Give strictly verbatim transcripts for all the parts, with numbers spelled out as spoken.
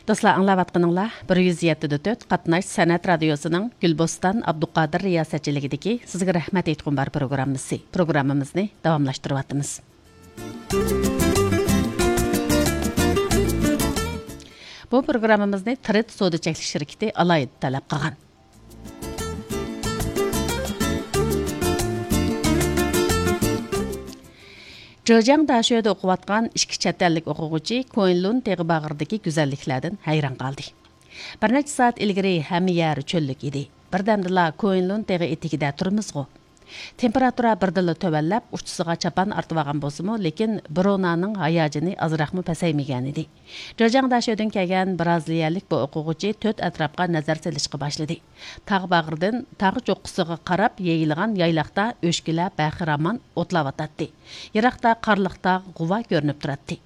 دوستلار، ئاڭلاۋاتقىنىڭلار بىر يۈز يەتتە دە تۆت قاتناش سەنئەت رادىيوسىنىڭ گۈلبوستان ئابدۇقادىر رىياسەتچىلىكىدىكى سىزگە رەھمەت ئېيتقۇم بار پروگراممىسى. پروگراممىمىزنى داۋاملاشتۇرۇۋاتىمىز. بۇ پروگراممىمىزنى ترېد سودا چەكلىك شىركىتى ئالاھىدە تەلەپ قىلغان. جېجياڭ داشۆدە ئوقۇۋاتقان ئىككى چەت ئەللىك ئوقۇغۇچى كوينلۇن تېغى باغرىدىكى گۈزەللىكلەردىن ھەيران قالدى. بىر نەچچە سائەت ئىلگىرى ھەممە يەر چۆللۈك ئىدى. بىردەمدىلا كوينلۇن تېغى ئېتىكىدە تۇرىمىزغۇ. تېمپېراتۇرا بىردىنلا تۆۋەنلەپ، ئۇچىسىغا چاپان ئارتىۋالغان بولسىمۇ، لېكىن برونانىڭ ھاياجىنى ئازراقمۇ پەسەيمىگەنىدى. جېجياڭ داشۆدىن كەلگەن بىرازىلىيەلىك بۇ ئوقۇغۇچى تۆت ئەتراپقا نەزەر سېلىشقا باشلىدى. تاغ باغرىدىن تاغ چوققىسىغا قاراپ يېيىلغان يايلاقتا ئۆچكىلەر بەخىرامان ئوتلاۋاتاتتى. يىراقتا قارلىق تاغ غۇۋا كۆرۈنۈپ تۇراتتى.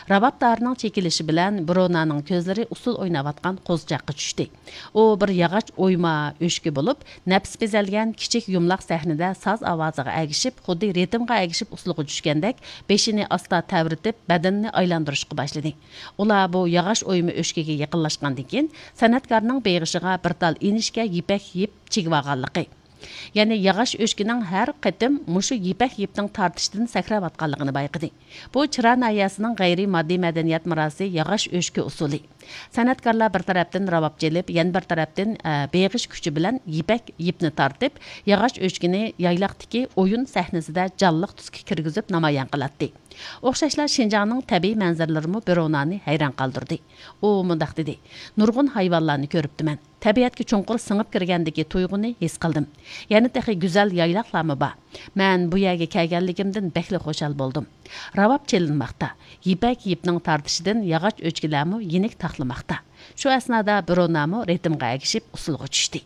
راۋاب تارىنىڭ چېكىلىشى بىلەن برونانىڭ كۆزلىرى ئۇسسۇل ئويناۋاتقان قوزىچاققا چۈشتى. ئۇ بىر ياغاچ ئويما ئۆچكە بولۇپ، نەپىس بېزەلگەن كىچىك يۇمىلاق سەھنىدە ساز ئاۋازىغا ئەگىشىپ، خۇددى رىتىمغا ئەگىشىپ ئۇسسۇلغا چۈشكەندەك بېشىنى ئاستا تەۋرىتىپ، بەدىنىنى ئايلاندۇرۇشقا باشلىدى. ئۇلار بۇ ياغاچ ئويما ئۆچكىگە يېقىنلاشقاندىن كېيىن، سەنئەتكارنىڭ بېغىشىغا بىر تال ئىنىشكە يىپەك يىپ چىگىۋالغانلىقى، يەنى ياغاچ ئۆچكىنىڭ ھەر قېتىم مۇشۇ يىپەك يىپنىڭ تارتىشىدىن سەكرەۋاتقانلىقىنى بايقىدى. بۇ چىرا ناھىيەسىنىڭ غەيرىي ماددىي مەدەنىيەت مىراسى ياغاچ ئۆچكە ئۇسسۇلى. سەنئەتكارلار بىر تەرەپتىن راۋاب چېلىپ، يەنە بىر تەرەپتىن، ئە، بېغىش كۈچى بىلەن يىپەك يىپنى تارتىپ، ياغاچ ئۆچكىنى يايلاقتىكى ئويۇن سەھنىسىدە جانلىق تۈسكە كىرگۈزۈپ نامايان قىلاتتى. ئوخشاشلا شىنجاڭنىڭ تەبىئىي مەنزىرىلىرىمۇ برونانى ھەيران قالدۇردى. ئۇ مۇنداق دېدى: «نۇرغۇن ھايۋانلارنى كۆرۈپتىمەن. تەبىئەتكە چوڭقۇر سىڭىپ كىرگەندىكى تۇيغۇنى ھېس قىلدىم. يەنە تېخى گۈزەل يايلاقلارمۇ بار. مەن بۇ يەرگە كەلگەنلىكىمدىن بەكلا خۇشال بولدۇم. راۋاب چېلىنماقتا. يىپەك يىپنىڭ تارتىشىدىن ياغاچ ئۆچكىلەرمۇ يېنىك تاقلىماقتا.» شۇ ئەسنادا برونامۇ رىتىمغا ئەگىشىپ ئۇسسۇلغا چۈشتى.